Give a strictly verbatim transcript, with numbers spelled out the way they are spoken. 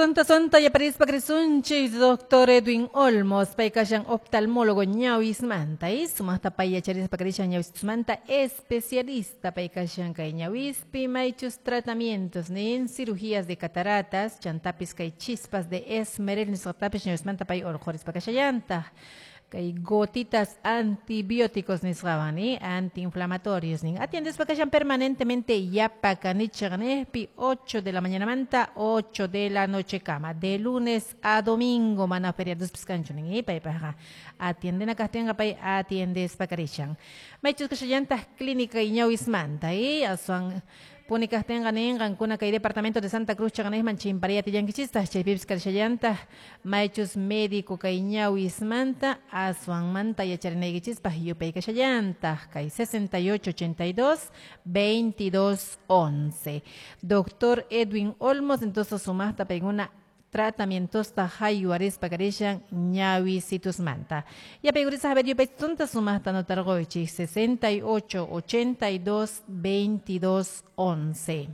Sonta sonta yaparispa krisunchis doctor Edwin Olmos, paykashan oftalmólogo ñawismanta, y sumaqta pay yacharispa karishan ñawismanta especialista paykashan kay ñawispi maychus tratamientos nin cirugías de cataratas, chantapis kay chispas de esmeril nisqatapis ñawismanta pay urqhurispa kashallantaq. Kay gotitas antibióticos nisqawan ni antiinflamatorios nin atiendespa kashan permanentemente Yapacanichaqnejpi ocho de la mañana manta ocho de la noche kama de lunes a domingo mana feriados piskanchu nin paypaqqa atiendena kaqtinqa pay atiendespa karishan maychus kashallantaq clínica ñawismanta y aswan puni kaqtinqa nin qankuna kay departamento de Santa Cruz chaqnejman chimpariyatillankichistaq chaypipis karishallantaq maychus médico kay ñawismanta aswanmanta yacharinaykichispaq yupay kashallantaq kay sesenta y ocho ochenta y dos veintidós once. Doctor Edwin Olmos entonces sumaqta paykuna tratamientosta haywarispa karishan ñawisitusmanta. Yapaykurisa a ver yupaytunta sumaqta notarquychik sesenta y ocho ochenta y dos veintidós once.